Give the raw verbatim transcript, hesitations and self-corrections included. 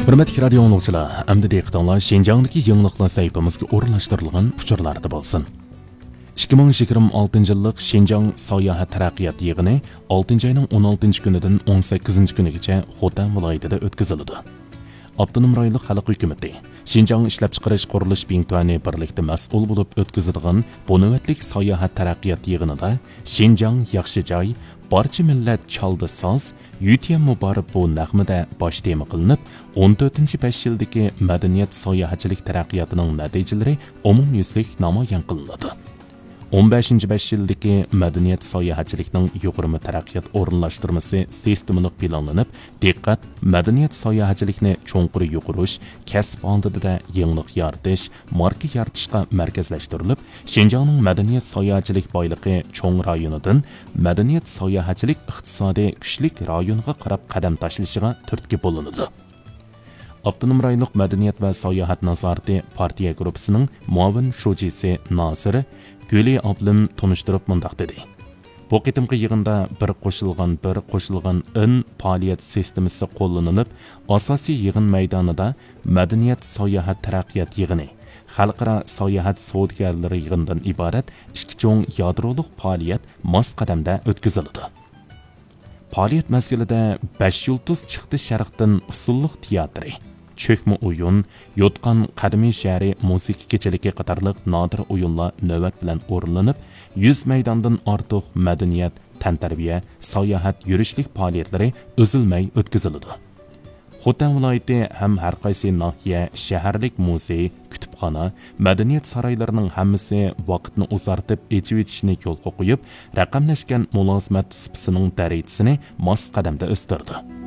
ھۆرمەتلىك رادىيو ئاڭلىغۇچىلار، ئەمدى دىققىتىڭلار شىنجاڭدىكى يېڭىلىقلار سەھىپىمىزگە ئورۇنلاشتۇرۇلغان ئۇچۇرلاردا بولسۇن. ئىككى مىڭ يىگىرمە ئالتىنچى يىللىق شىنجاڭ ساياھەت تەرەققىيات يىغىنى ئالتىنچى ئاينىڭ ئون ئالتىنچى كۈنىدىن ئون سەككىزىنچى كۈنىگىچە خوتەن ۋىلايىتىدە ئۆتكۈزۈلىدۇ. ئاپتونوم رايونلۇق خەلق ھۆكۈمىتى، شىنجاڭ ئىشلەپچىقىرىش قۇرۇلۇش بىڭتۈەنى بىرلىكتە مەسئۇل بولۇپ ئۆتكۈزىدىغان بۇ نۆۋەتلىك ساياھەت تەرەققىيات يىغىنىدا شىنجاڭ ياخشى جاي، بارچە مىللەت چالدى ساز، يۈتيەن مۇبارىك بۇ نەغمىدە باش تېما قىلىنىپ، ئون تۆتىنچى بەش يىلدىكى مەدەنىيەت ساياھەتچىلىك تەرەققىياتىنىڭ نەتىجىلىرى ئومۇميۈزلۈك نامايان قىلىنىدۇ. ئون بەشىنچى بەش يىلدىكى مەدەنىيەت ساياھەتچىلىكنىڭ يۇغۇرما تەرەققىيات ئورۇنلاشتۇرمىسى سىستېمىلىق پىلانلىنىپ، دىققەت مەدەنىيەت ساياھەتچىلىكنى چوڭقۇر يۇغۇرۇش، كەسىپ ھالىتىدە يېڭىلىق يارىتىش، ماركا يارىتىشقا مەركەزلەشتۈرۈلۈپ، شىنجاڭنىڭ مەدەنىيەت ساياھەتچىلىك بايلىقى چوڭ رايونىدىن مەدەنىيەت ساياھەتچىلىك ئىقتىسادىي كۈچلۈك رايونغا قاراپ قەدەم تاشلىشىغا تۈرتكە بولۇنىدۇ. ئاپتونوم رايونلۇق مەدەنىيەت ۋە ساياھەت نازارىتى پارتىيە گۇرۇپپىسىنىڭ مۇئاۋىن شۇجىسى ناسىر گۈلى ئابلىم تونۇشتۇرۇپ مۇنداق دېدى: بۇ قېتىمقى يىغىندا بىر قوشۇلغان بىر قوشۇلغان ئىن پائالىيەت سىستېمىسى قوللىنىلىپ، ئاساسىي يىغىن مەيدانىدا مەدەنىيەت ساياھەت تەرەققىيات يىغىنى، خەلقئارا ساياھەت سودىگەرلىرى يىغىنىدىن ئىبارەت ئىككى چوڭ يادرولۇق پائالىيەت ماس قەدەمدە ئۆتكۈزۈلىدۇ. پائالىيەت مەزگىلىدە بەش يۇلتۇز چىقتى شەرقتىن ئۇسسۇللۇق تىياتىرى، چۆكمە ئويۇن، يوتقان قەدىمىي شەھىرى مۇزىكا كېچىلىكى قاتارلىق نادىر ئويۇنلار نۆۋەت بىلەن ئورۇنلىنىپ، يۈز مەيداندىن ئارتۇق مەدەنىيەت، تەنتەربىيە، ساياھەت، يۈرۈشلۈك پائالىيەتلىرى ئۈزۈلمەي ئۆتكۈزۈلىدۇ. خوتەن ۋىلايىتى ھەم ھەر قايسى ناھىيە، شەھەرلىك مۇزېي، كۇتۇپخانا، مەدەنىيەت سارايلىرىنىڭ ھەممىسى ۋاقىتنى ئۇزارتىپ ئېچىۋېتىشنى يولغا قويۇپ، رەقەملەشكەن مۇلازىمەت سۇپىسىنىڭ دەرىجىسىنى ماس قەدەمدە ئۆستۈردى.